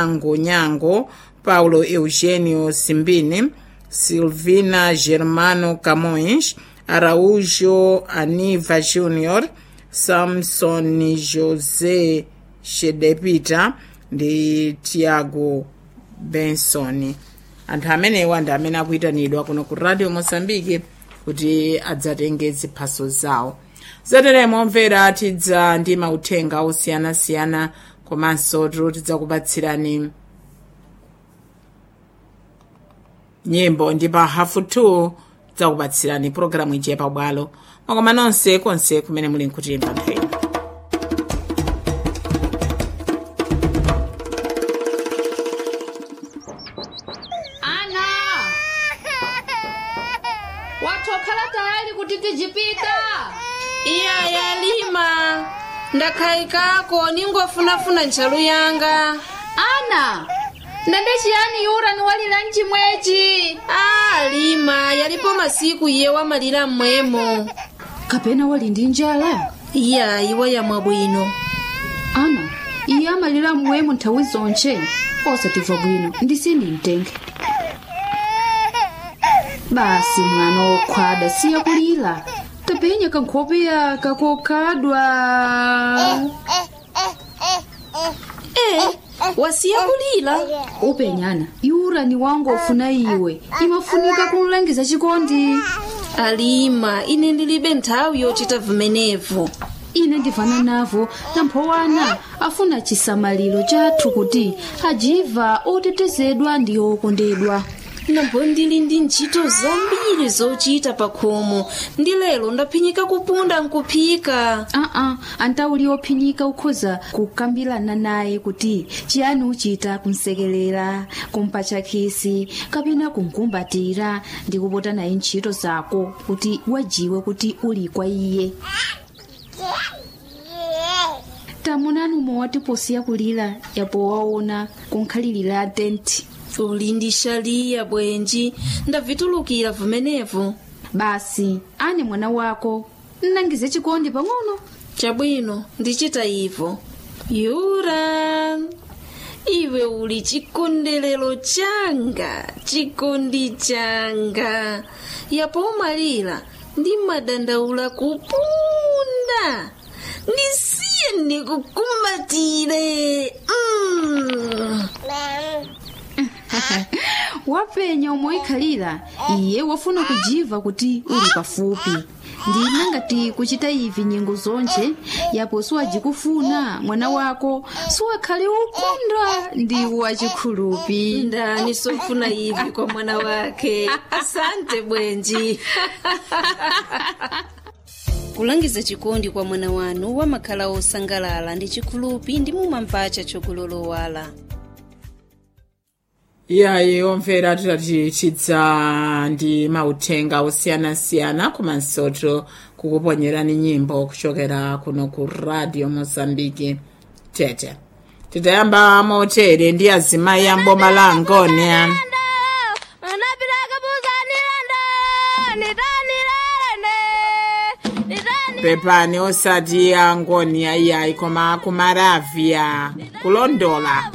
Nyango, Paulo Eugenio Simbini, Silvina Germano Camões, Araújo Aniva Júnior, Samson José Shedepita ndi Tiago Benson. Anthu amenewa ndi amene akuyitanidwa kuno ku Radio Mozambique kuti adzatenge ziphaso zawo. Zateremo omvera, tidza ndi mauthenga osiyanasiyana komanso tidzakupatsirani nyimbo ndi pa 2:30 tidzakupatsirani pologalamu ija pabwalo. Makoma nonse konse kumene muli nkutimba nthawi. Ana, watokhala tayali kuti tijipita? Iya, yalima, ndakhayikako, ningofunafuna ntchalu yanga. Ana, ndende chiyani yura niwalira mchimwechi? A, lima, yalipo masiku iye wamalira mmwemo. Kapena wali ndi njala? Iya, iwa yamwa bwino. Ana, iye amalira mmwemo nthawi zonche, osatimva bwino ndisini mtenge. Basi mwana wokhwada, siya kulira, tapenya kankhope yaka kokhadwa. E, wasiya kulira? Upenyana yura ni wangu ofuna iwe, imafunika kumlangiza chikondi. Alima, ine ndilibe nthawi yochita vimenevo. Ine ndivana navo, namphowana afuna chisamaliro chathu kuti ajiva otetezedwa ndi okondedwa. Nambo ndili ndi ntchito zambiri zochita pa khomo, ndi lero ndaphinyika kupunda nkuphika. Aa, antauli ophinyika ukhoza kukambirana naye kuti chiyani uchita kumsekelera, kumpatcha khisi kapena kumkumbatira ndi kupota naye ntchito zako kuti wajiwe kuti uli kwa iye. Tamunani umwe watiposiya kulira yapo waona kunkhalirira tenti. Uli ndi shaliya bwenji, ndavitulukira vimenevo. Basi ane mwana wako nnangize chikondi pang'ono. Chabwino, ndichita ivo. Yura, iwe uli chikondelero changa, chikondi changa. Yapo umalira ndi madandaula kupunda. Ndisiye ndikukumbatire. Wapenya umoikhalira, iye wafuna kujiva kuti uli pafupi. Ndina ngati kuchita ivi nyengo zonche, yapo siwajikufuna mwana wako siwakhale ukunda ndi wachikhulupi. Ndani sofuna ivi kwa mwana wake? Asante bwenji. Kulangiza chikondi kwa mwana wanu wamakhala osangalala ndi chikhulupi ndi mumampacha chokulolowala. Iyayi omvera, titati tidza ndi mauthenga osiyanasiyana komansoto kukuponyerani nyimbo kuchokera kuno ku Radio Mozambique Tete. Titayamba motere ndi azimayi amboma la Angonia. Pepani, osati Angonia iyayi, koma kumaravia kulondola.